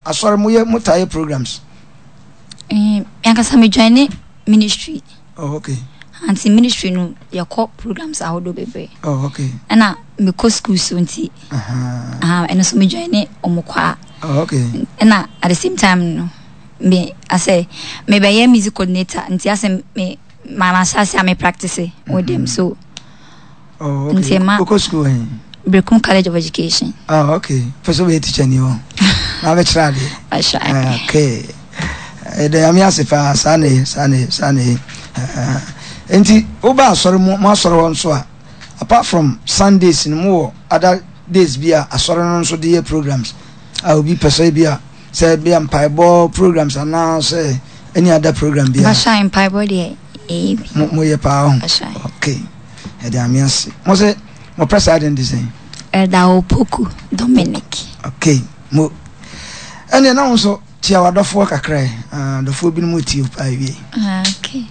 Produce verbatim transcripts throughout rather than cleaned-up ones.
Asɔre mo yɛ mo taa yɛ programs? Eh, ankasa me join ne ministry. Oh, okay. Nti ministry no yɛkɔ programs ahodoɔ bebree. Oh, okay. Ɛna mekɔ school so nti. Uh-huh. Ɛno so me join ne ɔmo kɔ a. Oh, okay. Ɛna at the same time no me asɛ mebɛyɛ music coordinator nti asɛ me ma ma hyɛ ase a me practice with them so. Oh, okay. Nti ma Wokɔ school hɛn? Berekum College of Education. Oh, okay. Pɛ sɛ wobɛyɛ teacher ni hɔ. Na wabɛkyerɛ adeɛ. Ahyɛ. Ah, okay. Ɛda Nyame ase paa, saa na ɛyɛ, saa na ɛyɛ, saa na ɛyɛ. Ah, nti woba asɔre mu, mo asɔre hɔ nso a, apart from Sundays no, mowɔ other days bi a asɔre no nso de yɛ programs a obi pɛ sɛ bi a sɛ bi a mpaebɔ programs anaasɛ any other program bi a. Bahyɛ mpaebɔ deɛ ɛyɛ bi. Mo moyɛ paa ho. Bahyɛ. Okay. Ɛda Nyame ase. Mo sɛ mo pɛ saa de no de sɛn? Ɛda Opoku Dominic. Okay. Mo ɛnneɛ na wo nso tia w'adɔfoɔ kakra ɛ. Ah, adɔfoɔ binom tie wo paa wie. Okay.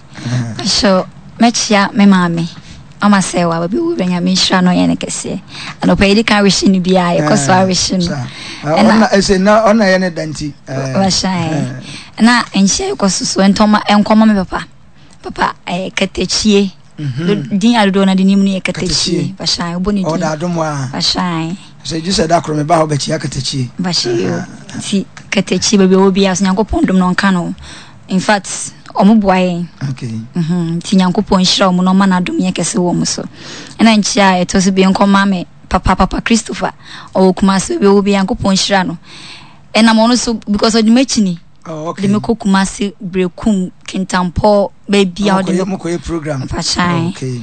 So mɛkyia me maame ama sɛ wa baabi wo bɛnya me nhyira no yɛ no kɛseɛ. Anɔpa yi di kan wehye no biara yɛkɔ so awehye no. Ɛna ɛsɛ na ɔna yɛ ne da nti. Wahyɛ. Na nhyɛ yɛkɔ so so ɛntɔma ɛnkɔma me papa. Papa ɛyɛ katakyie. Din adodoɔ na de nim no yɛ katakyie. Wahyɛ wobɔ ne din. Ɔda adom a. Wahyɛ. Sɛ gye sɛ da koro meba hɔ bɛkyia katakyie. Wahyɛ yo. Nti katakyie baabi a ɔwɔ biara so Nyankopɔn dom no ɔnka no. In fact, ɔmo boa yɛn. Okay. Mhm. Nti Nyankopɔn nhyira ɔmo na ɔma n'adom yɛ kɛse wɔ ɔmo so. Ɛna nkyia a ɛtɔ so bi nkɔma me papa papa Christopher ɔwɔ Kumasi baabi a ɔwɔ biara Nyankopɔn nhyira no. Ɛnam ɔno so because ɔde m'akyi ni. Oh, okay. De me kɔ Kumasi Berekum Kintampo baabi a ɔde me kɔ yɛ program. Mpakyɛn. Okay.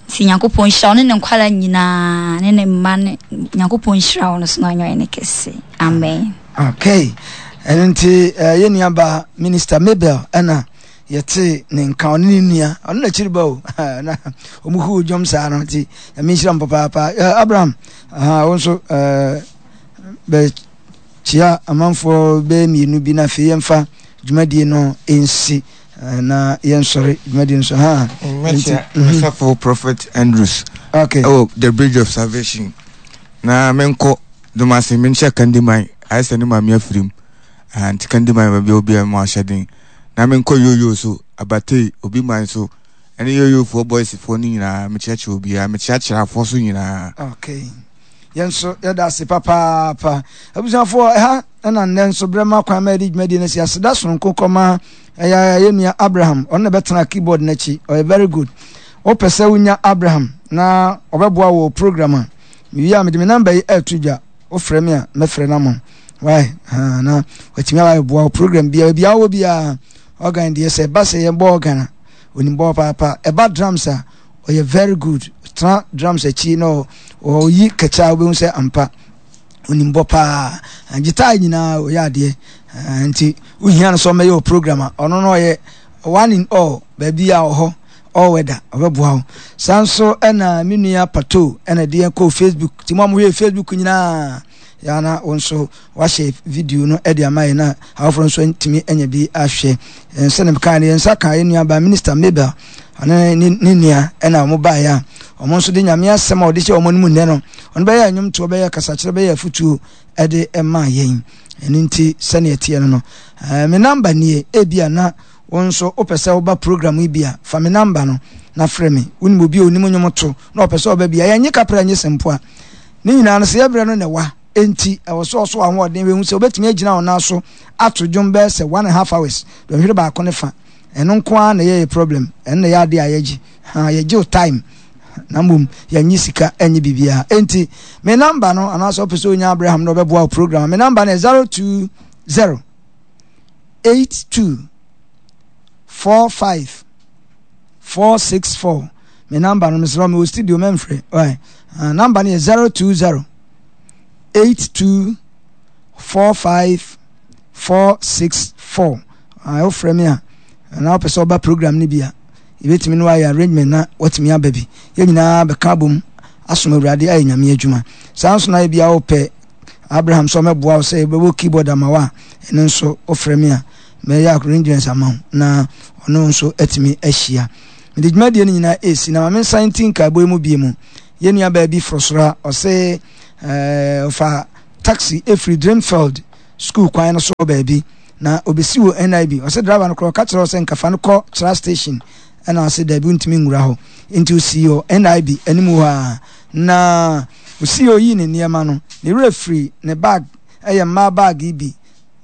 Nti Nyankopɔn nhyira ɔne ne nkwala nyinaa ne ne mma ne Nyankopɔn nhyira ɔno so na ɔnyɛ ɔyɛ ne kɛse. Amen. Okay. Ɛno nti eh, yɛn nua ba Minister Mabel ɛna yɛte ne nka ɔne ne nua ɔno n'akyiri ba o na ɔmo hu dwom saa no nti Nyame nhyira mo papaapa. Eh, Abraham, aha, wo nso eh, bɛkyia amanfoɔ bɛyɛ mmienu bi na afei yɛmfa dwumadie no nsi eh, na yɛnsɔre dwumadie no so ha. Mɛkyia Mesafo Prophet Andrews. Okay. Ɛwɔ The Bridge of Salvation. Na menkɔ Domase menhyɛ Kandiman ayɛ sɛ ne maame afirim. Ah, nti Kandiman baabi a obiara mu ahyɛden. Na menkɔ Yoyo so Abatei obi man so ɛne Yoyofoɔ boysfoɔ no nyinaa mekyerɛkyerɛ obiara mekyerɛkyerɛ afoɔ so nyinaa. Okay. Yɛn nso yɛda ase papaapa. Abusuafoɔ ɛha ɛna nnɛ nso berɛ ma kwan ma yɛde dwumadie no asi aseda sononko kɔma ɛyɛ yɛn nua Abraham ɔno na ɛbɛtena keyboard n'akyi ɔyɛ very good. Wopɛ sɛ wonya Abraham na ɔbɛboa wɔ program a mewie a mede me namba yi ɛɛto dwa wofrɛ me a mɛfrɛ no ama wo. Why? Ha, na watumi aba abɛboa wo program biara biara wɔ biara organ deɛ sɛ ɛba sɛ yɛbɔ organ a onim bɔ paapa ɛba drums a ɔyɛ very good tena drums akyi na ɔyi kɛkyɛ a wobɛhu sɛ ampa onim bɔ paa guitar nyinaa ɔyɛ adeɛ nti wohia no sɛ ɔmɛyɛ wɔ program a ɔno no ɔyɛ one in all baabi a ɔhɔ all weather ɔbɛboa wo saa nso ɛna me nua pato ɛna de yɛn kɔɔ Facebook nti mo a mohwɛ Facebook nyinaa yana wo nso wahyɛ video no de ama yɛn na afoforɔ nso ntumi anya bi ahwɛ sɛne mekaa no yɛn nsa ka yɛn nua ba Minister Mabel ɔne ne ne nua ɛna wɔn baeɛ a wɔn nso de Nyame asɛm a wɔde hyɛ wɔn anim nnɛ no ɔno bɛyɛ nnwomtoɔ bɛyɛ kasakyerɛ bɛyɛ afutuo ɛde ɛma yɛn ɛno nti sɛnea ɛteɛ no no ɛɛ me namba nie ebi a na wɔn nso wopɛ sɛ woba program yi bi a fa me namba no na frɛ me wonim obi a onim nnwom to na ɔpɛ sɛ ɔba bi a yɛnye kapra nye sempoa ne nyinaa no sɛ yɛbrɛ no na ɛwa enti ɛwɔ sɛ ɔso ahoɔden wehu sɛ wobɛtumi agyina wo nan so ato dwom bɛyɛ sɛ one and a half hours dɔnhwere baako ne fa ɛno nko ara na ɛyɛ problem ɛno na ɛyɛ adeɛ a yɛgye ha yɛgye wo time na mmom yɛnye sika ɛnye biribiara enti me namba no anaasɛ wopɛ sɛ onya Abraham na ɔbɛboa wo program me namba no yɛ zero two zero eight two four five four six four me namba no mesrɛ me wɔ studio mɛmfrɛ ɔɛ namba no yɛ zero two zero eight two four five four six four wofrɛ me a na wopɛ sɛ ɔba program no bi a yɛbɛtumi no ayɛ arrangement na watumi aba bi yɛn nyinaa bɛka abom asom Awurade ayɛ Nyame adwuma saa nso na ebi a wopɛ Abraham sɛ ɔmɛboa wo sɛ yɛbɛbɔ keyboard ama wo a ɛno nso wofrɛ me a mɛyɛ arrangements ama wo na ɔno nso atumi ahyia mede dwumadie no nyinaa ɛsi na ma me nsan nti nkaebɔ yi mu bie mu yɛn nua baa bi forosoro a ɔse ɔfa taxi ɛfiri Dreamfield School kwan no so baabi na obesi wɔ N I B. Ɔsɛ driver no korɔ ɔka kyerɛ sɛ nkafa no kɔ Kyerɛ Station, ɛna ɔsɛ daabi, ntumi nwura hɔ, nti osi wɔ N I B anim hɔ a na osi oyi ne nneɛma no, ne werɛ firi ne bag. Ɛyɛ mmaa bag yi bi,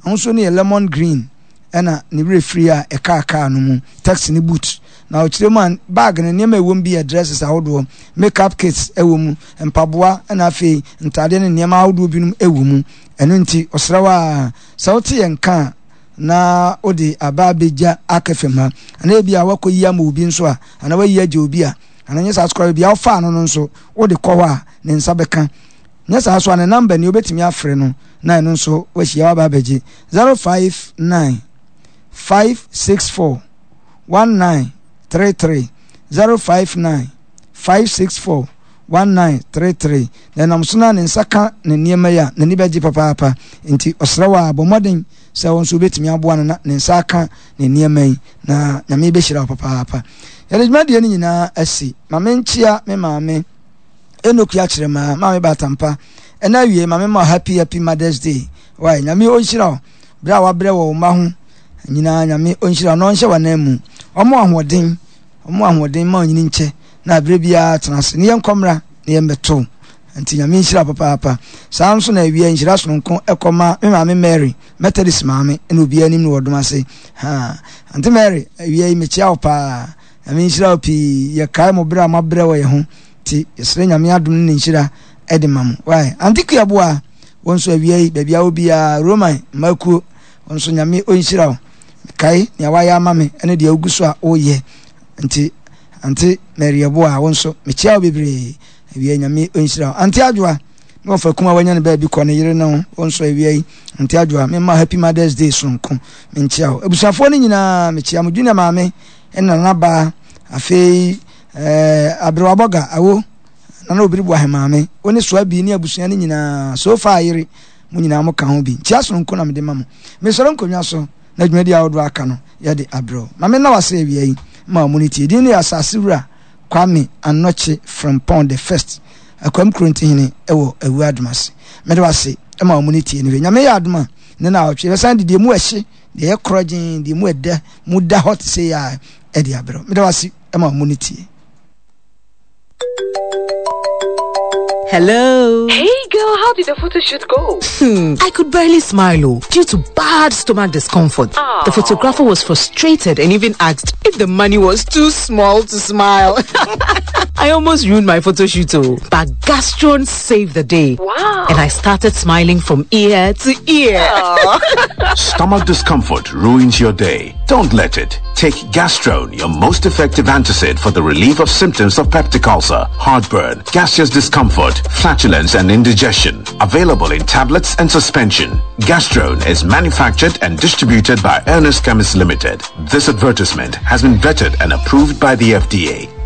ahosuo no yɛ lemon green, ɛna ne werɛ firi a ɛkaa kaa no mu, taxi ne boot. Na ɔkyerɛ mu a, bag no nneɛma ɛwɔ mu bi yɛ dresses ahodoɔ, makeup kits ɛwɔ mu, mpaboa, ɛna afei ntaadeɛ ne nneɛma ahodoɔ binom ɛwɔ mu. Ɛno nti ɔsrɛ a sɛ wote yɛn ka a, na wode aba abɛgya aka fam ha, anaa ebi a wakɔ yi ama obi nso a, anaa wayi agye obi a, anaa nyɛ saa so koraa, baabi a wofaa no no nso wode kɔ hɔ a ne nsa bɛka. Nyɛ saa so a, ne number ni, wobɛtumi afrɛ no na ɛno nso wahyia waba abɛgye: zero five nine five six four one nine three three, zero five nine five six four one nine three three. Na ɛnam so na ne nsa ka ne nneɛma yi a, n'ani bɛgye papaapa. Nti ɔsrɛ wɔ a, bɔ mmɔden sɛ wɔn nso wobɛtumi aboa no na ne nsa aka ne nneɛma yi, na Nyame bɛhyira wo papaapa. Yɛde dwumadie no nyinaa asi. Ma menkyea me maame Enoku akyerɛ maa maame Batampa. Ɛna awie, maame ma happy happy Mother's Day. Wae, Nyame ɔnhyira wo berɛ a wabrɛ wɔ wo mma ho nyinaa. Nyame ɔnhyira wo na ɔnhyɛ w'anan mu, ɔmo ahoɔden, ɔmo ahoɔden ma ɔnyini nkyɛ na berɛ biara tena ase ne yɛnkɔ mmra ne yɛmmɛto. Nti Nyame nhyira papaapa. Saa nso na awia nhyira sononko ɛkɔma me maame Mary, Methodist maame, ɛna obiara anim no wɔ dom ase ha. Auntie Mary, awia yi mekyia wo paa. Nyame nhyira wo pii. Yɛkae mo berɛ a moabrɛ wɔ yɛn ho, nti yɛsrɛ Nyame adom ne ne nhyira ɛde ma mo. Wae, Auntie Kuaboa, wɔn nso awia yi baabi a wɔ biara, Roman mmakuo, wɔn nso Nyame ɔnhyira wo. Mekae nea wayɛ ama me ɛne deɛ wogu so a woyɛ. Nti Auntie Mary Ɛboa, wo nso mekyia wo bebree awia. Nyame ɔnhyira wo. Auntie Adwoa ne wɔfa kum a wanya no baabi kɔ ne yere no, wo nso awia yi, Auntie Adwoa, memma happy Mother's Day sononko. Menkyia wo. Abusuafoɔ no nyinaa mekyia mo. Junior maame ɛne nanabaa, afei ɛɛ aberewabɔga awo nana Obiri bu ahemaame, wo ne soa bi ne abusua no nyinaa, so far yere mo nyinaa mo ka ho bi. Nkyia sononko na mede ma mo. Mesɔre nkonnwa so na dwumadi ahodoɔ aka no yɛde abrɛw. Ma me na wase awia yi ma ɔmo no tie din no yɛ Asase Wura Kwame Anɔkye Frempɔn the First, Akwam Kurontihene ɛwɔ Awu Adomase. Mede wase ma ɔmo no tie no hwɛ. Nyame yɛ adom a, ne na awɔtwe yɛbɛsan de deɛ mu ɛhye, deɛ ɛyɛ korɔgyen, deɛ mu ɛda mu da hɔ te sɛ yɛ a ɛde abrɛw. Mede wase ma ɔmo no tie. Hello. Hey girl, how did the photo shoot go? Hmm, I could barely smile, oh, due to bad stomach discomfort. Aww. The photographer was frustrated and even asked if the money was too small to smile. I almost ruined my photo shoot, oh, but Gastron saved the day. Wow. And I started smiling from ear to ear. Stomach discomfort ruins your day. Don't let it. Take Gastrone, your most effective antacid for the relief of symptoms of peptic ulcer, heartburn, gaseous discomfort, flatulence, and indigestion. Available in tablets and suspension. Gastrone is manufactured and distributed by Ernest Chemist Limited. This advertisement has been vetted and approved by the F D A.